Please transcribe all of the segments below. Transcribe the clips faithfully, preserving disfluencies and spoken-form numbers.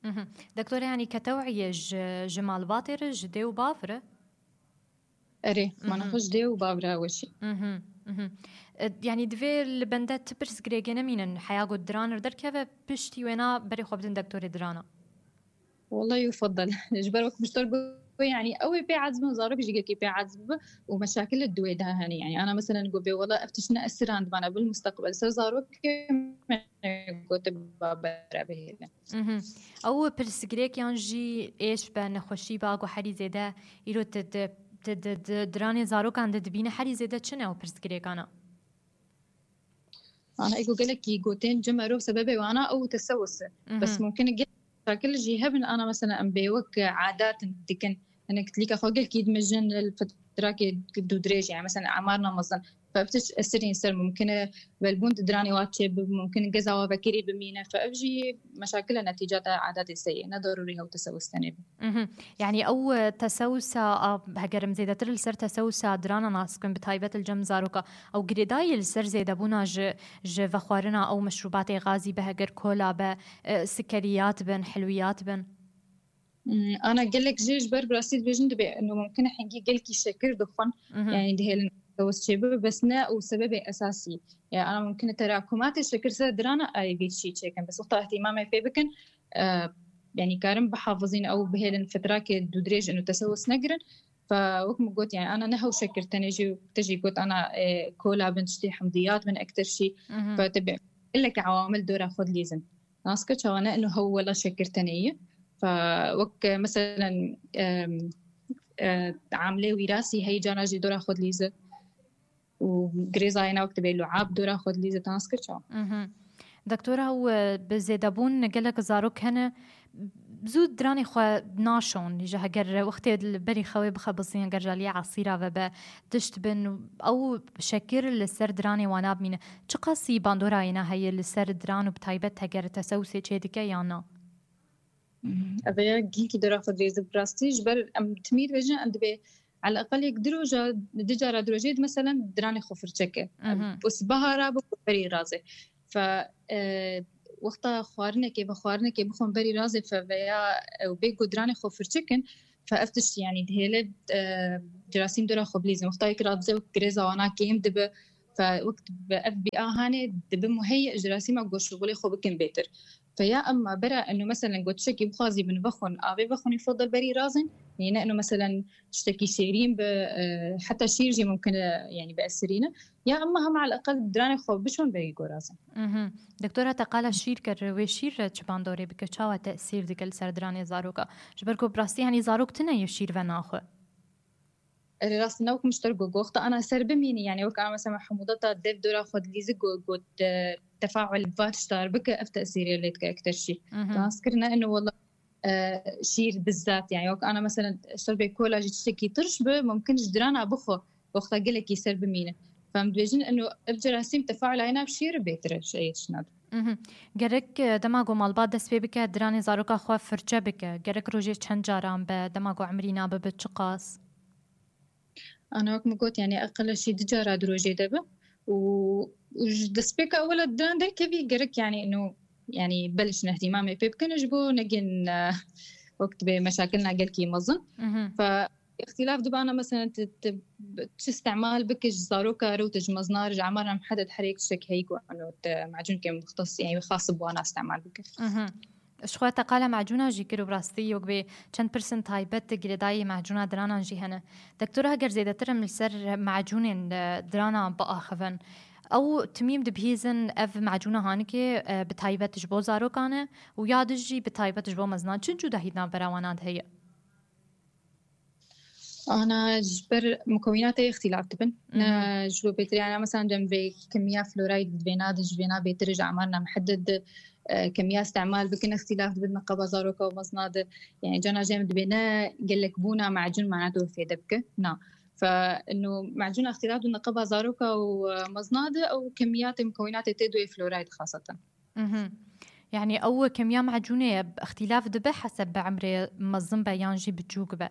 Mhm. Doktor, yanî ketewiyê ji, ji malbatê re, ji dê û bav re? Erê, mana Mhm. xwe ji dê û bav re weşî. Mhm, mhm. E, yanî divê li bende ti pirsgirêkê nemînin, heya ku diran li derkeve, piştî wêna berê xwe bidin doktorê dirana. Wallahi yufadal. Ji ber wek Muştor got, yanî ew ê pê ecibin, zarok jî gelkî pê ecib bi û meşakil li dûê de hene. Yanî ana meselen got bê wala ev tişt ne esiran dibana bil musteqbel ser zarokê me got ba bere bihêle. Mhm. Ew pirsgirêk yan jî êş be, nexweşî be, ku herî zêde îro ti di, ti di, di, diranê zarokan de dibîne, herî zêde çi ne ew pirsgirêkana? Ana ego gelekî gotên ji merov sebebê wana ew tesewus e. Bes Mhm. mumkin e gelek şakil jî hebin, ana mesela em bê wek adat dikin. Hinek tilîka xwe gelkî dimijin li fitrakê dûdirêj, yani mesela emarna mezin. Fe ev tişt esirîn ser mumkin e welbûn di diranê wa çêbib, mumkin geza wa vekirî bimîne. Fe ev jî meşakil e netîcata adatê seyê. Ne darûrî hew tesewus tenê be. Mhm. Yanî ew, e, tesewusa, a, heger em zêdetir li ser tesewusa dirana nas bikin, bi taybet li cem zaroka, ew girêdayî li ser zêdebûna ji, ji vexwarina ew meşrûbatê gazî be, heger kola be, e, sikeriyat bin, hilwiyat bin? Hmm, ana gelek jê ji ber bi rastî dibêjin dibê, eno mumkin e hingî gelkî şekir dixwin, Mhm. yani dihêlin tesewus çêbibe, bes ne û sebebê esasî. Yani ana mumkin e terakumatê şekir ser dirana ayê vî çî çêkin. Bes wexta ihtimamê pê bikin, e, yani karin bihafizîn ew bihêlin fitrakê dûdirêj û tesewus negirin. Fe wek min got, yani ana ne hew şekir tenê jî, te jî got ana, e, kola bin tiştê hemdiyat bin ektir şî. Mhm. Fe te bi gelek awamil dora xwe dilîzin. Nas kir çawa ne ino hew wela şekir tenê ye. Fe wek, e, meselen, em, e, amlê wîrasî heyî cana jî dora xwe dilîze. Û girêzayê ne wek dibê luab dora xwe dilîze, nas kir çawa? Mhm. Doktora, ew, e, bi zêdebûn gelek zarok hene, zû diranê xwe naşon. Ji heger wextê li berî xewê bixebizin, heger ji aliyê esîra ve be, tişt bin, ew şekir li ser diranê wan nabimîne. Çiqasî bandora wêna heye li ser diran û bi taybet heger tesewusê çê dike yan na? Mhm. Ev ya ginkî dora xwe dirêze bi rastî. Ji ber em timî dibêjin, em dibê eleqal yek du roja, du cara du rojê di meselen diranê xwe firçe ke. Mhm. Û sibeha ra bi berî razê. Fe, e, wexta xwarinekê, vexwarinekê bixwin berî razê fe veya ew bê ku diranê xwe firçe kin, fe ev tişt, yani, dihêle, e, cerasîm dora xwe bilîzin. Wexta yek razê wek girêza wana kêm dibe, fe wek bi ev bîa hanê dibe muheyye cerasîma ku şixulê xwe bikin bêtir. Fe ya emma bera eno meselen ku tiştekî bixwazî bin vexwin, avê vexwinî fodal berî razin, yani ne eno meselen tiştekî şêrîn bi, e, heta şîr jî mumkin e, yani bi esirîne. Ya emma hema eleqal diranê xwe bişon berî gorazin. Mhm. Doktora, te qala şîr kir, wê şîr re çi bandorê bike, çawa tesîr dike li ser diranê zaroka? Ji ber ku bi rastî, hani, zarok tune yê şîr ve naxwe. Erê, rast e, ne wek Muştor got, wexta ana ser bimînî, yani wek ana mesela hemûdata dev dora xwe dilîzi got, got, e, tefaul va tiştar bike, ev tesîrê lê dike ekter şîr. Mhm. Nas kir ne ino wela e, şîr bizzat, yani wek ana mesela şerbê kola jî tiştekî tirş bi, mumkin ji dirana bixwe, wexta gelekî ser bimîne. Fem dibêjin eno ev cerasîm tefaula hêna bi şîr bêtir e, ji ê tiştna de. Mhm. Gerek, e, dema ku malbat dest pê bike, diranê zaroka xwe firçe bike. Gerek rojê çend caran be, dema ku emrî nabe bi çiqas? Ana wek min got, yani eqil şî du cara di rojê de be û, û ji destpêka ewela diran derkevî gerek, yani ino, yani beliş nehdîmamê pê bikin ji bo negin, e, wek dibê meşakilna gelkî mezin. Mhm. Fe îxtîlaf dibana, mesela, ti, ti, çi îstemal bike ji zaroka re û ti ji mezina re, ji emara mihedded her yek tiştek heyî ku ino te macûnkê muxtes, yani xas bi wana îstemal bike. Mhm. Ji xwe te qala macûna jî kir û bi rastî wek bê çend pirsên taybet girêdayî macûna diranan jî hene. Doktora, heger zêdetir em li ser macûnên, e, dirana biaxivin, ew timîm dibihîzin ev macûna hanikê, e, bi taybet ji bo zarokan e û ya din jî bi taybet ji bo mezinan. Çi cudahî di navbera wana de heye? Ana ji ber mukewînatê îxtîlaf dibin. Ne Mhm. ji bo bêtir, yani mesela dem vê kimiya florayd di vêna de ji vêna bêtir ji emarna mihedded de, e, kimiya îstemal bikin îxtîlaf dibin neqeba zaroka û mezina de. Yani cana jê em dibê ne gelekbûna macûn mana tu fêde bike. Na. Fe ino macûna îxtîlaf dibin neqeba zaroka û, e, mezina de ew kimiyatê mukewînatê tê doyê florayd xaseten. Mhm. Yani ew kemiya macûnê îxtîlaf dibe heseb bi emrê mezin be yan jî biçûk be?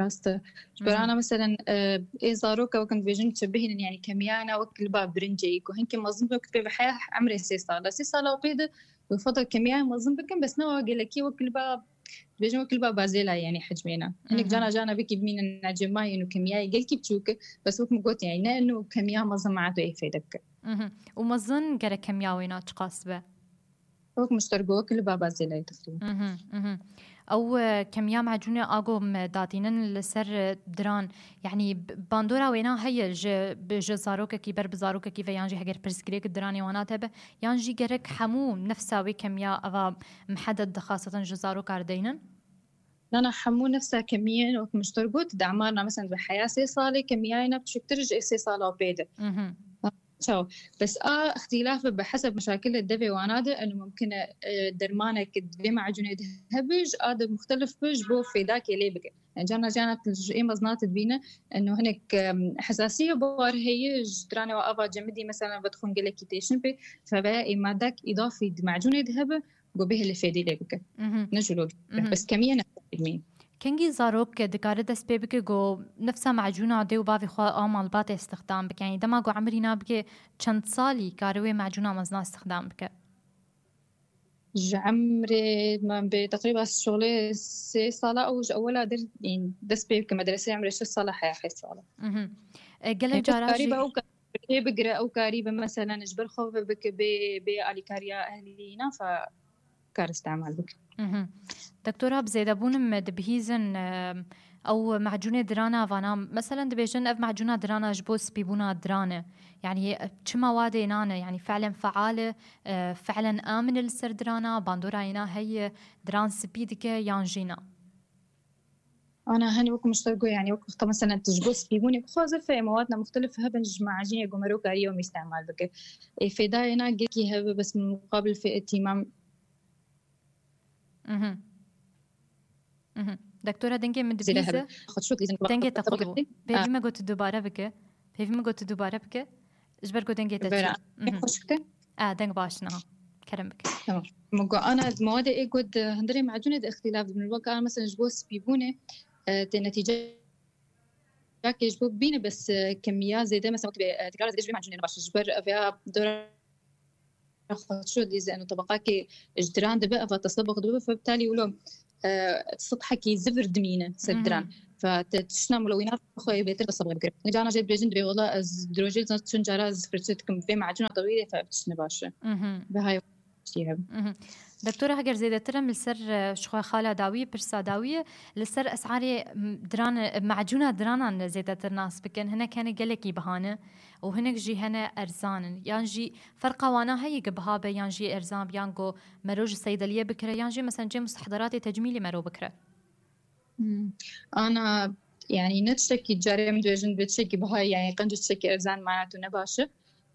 Rast e. Ji ber Mhm. ana meselen, e, ê zaroka wek em dibêjin çi bihînin, yani kemiya ne wek li ba birincê ku hinkî mezin be, wek dibê bi heya emrê sê sal e. Sê sala pê de Û fada kemiyayê mezin bikin, bes ne wa gelekî wek li ba, dibêjin wek li ba bazêla, yanî hicmêna. Hinek cana cana bikî bimînin nacêmayên û kemiyayê gelkî biçûk, bes wek min got, yanî ne inu kemiya mezin ma tu ê fêde bike. Mhm. Û mezin gerek kemiya wêna çiqas be? Wek min ji te re got, wek li ba bazêlayê teqrîben. Mhm, mhm. Ew, e, kemiya macûnê a ku me datînin li ser, e, diran, yanî b-, bandora wêna heye ji, bi, ji zarokekî ber bi zarokekî ve, yan jî heger pirsgirêk diranê wana hebe, yan jî gerek hemû nefsa wê kemiya eva mihedet dixasetin ji zaroka re deynin? Na, na, hemû nefsa kemiyên, wek min ji te re got, di emarna, mesela, bi heya sê salê kemiyayê ne biçûktir ji sê sala û pê de. Mhm. Çaw. Bes a îxtîlaf bi heseb meşakilê devê wana de, eno mumkin e, e, dermanek di vê macûnê de hebe, ji a de muxtelif be, ji bo fêdakê lê bike. Yani cana cana tu ji ê meznat dibîne, eno hinek, em, hesasiye bar heye, ji diranê wa ava cemidî, mesela, vedixwin gelekî têşin pê, fe veya ê madak îdafî di macûnê de hebe, go bihêle fêdî lê bike. Mhm. Ne jûlo bike. Mhm. Bes kemiye ne. Kengî zarok dikare dest pê bike ku nefsa macûna dê û bavê xwe a malbatê istixdam bike? Yanî dema ku emirîna bike çend salî kare wê macûna mezna istixdam bike? Ji emrê me bê teqrîba şolê sê sala ew ji ewela der, ên, dest pê bike medresê emrê şeş sala heya heyt sala. Mhm. E, gelek Ê, cara karî jî be ew ka-, lê bigire, ew karî be meselen ji ber xwe ve bike bê, bê alîkariya ehlî înan fa kar îstemal bike. Mhm. Doktora, bi zêdebûn me dibihîzin, e, ew macûnê dirana vana. Meselen dibêjin ev macûna dirana ji bo spîbûna diran e. Yanî, e, çi mawadê nan e? Yanî fi'len feal e, e, fi'len amin e li ser dirana, bandora êna heye, diran spî dike yan jî na? Ana hin wek min ji te got, yanî wek wexta meselen tu ji bo spîbûnê bixwaze fe, mewad ne muxtelif hebin ji macînê ku mero karî ew îstemal bike. Ê fêdayê na gelkî hebe, bes muqabil fê tîmam. Mhm. Mhm. Doktora, dengê min dibihîze. Dengê te qut bû. Pêvî me got tu dubare bike. Pêvî me got tu dubare bike. Ji ber ku dengê te çû. Mhm. Xweş bike? A, deng baş niha. Kerem bike. Tamam. Min got, ana, di mewade ê ku di hundirê macûnê de îxtîlaf dibin. Wek ana, mesela, ji bo spîbûnê, e, tê netîceyakê ji bo bîne, bes, e, kemiya zêde, mesela, wek bê, e, tekrar zêde ji vê macûnê ne baş. Ji ber, e, vêya dora xweşo dîze, eno tebaqakê ji diran dibe, eva tesebux dibe, fe bitalî wilo, e, sithekî zivir dimîne ser diran. Mhm. Fe te tiştna mulewînat xwe yê bêtir tesebux bikire. Cana jê dibêjin dibê, wela ez dirojê çend cara ez firçe dikim, vê macûna tewîlê fe tiştine baş e. Mhm. Ve hay tiştî hebe. Mhm. Doktora, heger zêdetir em li ser, e, ji xwe xala dawiyê, pirsa dawiyê, li ser esarê, m, diran, e, macûna diranan zêdetir nas bikin. Hinek hene gelekî biha ne û hinek jî hene erzan in. Yan jî ferqa wana heye ku biha be yan jî erzan be, yan ku mero ji seydeliyê bikire, yan jî mesela cem mustehderatê tecmîlî mero bikire? Hmm. Ana, yani ne tiştekî carê em dibêjin bi tiştekî biha, yani qenc tiştekî erzan mana tu ne baş e.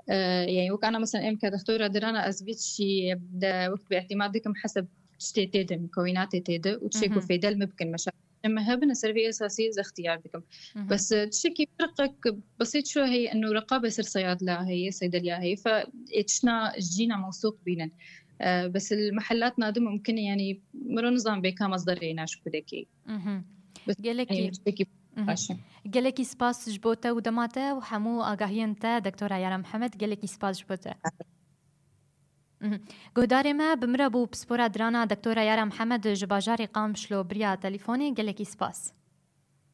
Ee, yani wek ana mesela em ke doktora dirana ez vî tiştî de wek bi ihtimal dikim heseb tiştê tê de, mukewînatê tê de û tiştê ku Hı hı. fêdel me bikin, meşa me hebin, ser vê esasî ez extiyar dikim. Hı hı. Bes, e, tiştekî firqek besît şu heye, eno reqabe ser seyadla heye, seydeliya heye, fe ê tişna jîna mewsûq bînin. E, bes li mehelat nadi mumkin e, yani, miro nizan bê ka mezderê naş kudekî. Mhm. Bes, Gelekî, yani, tiştekî mhm. baş e. Gelekî spas ji bo te û dema te û hemû agahiyên te, Doktora Yara Mihemed, gelekî spas ji bo te. Mhm. Guhdarê me, bi min re bû pispora dirana Doktora Yara Mihemed ji bajarê Qamişlo biriya telefonê, gelekî spas.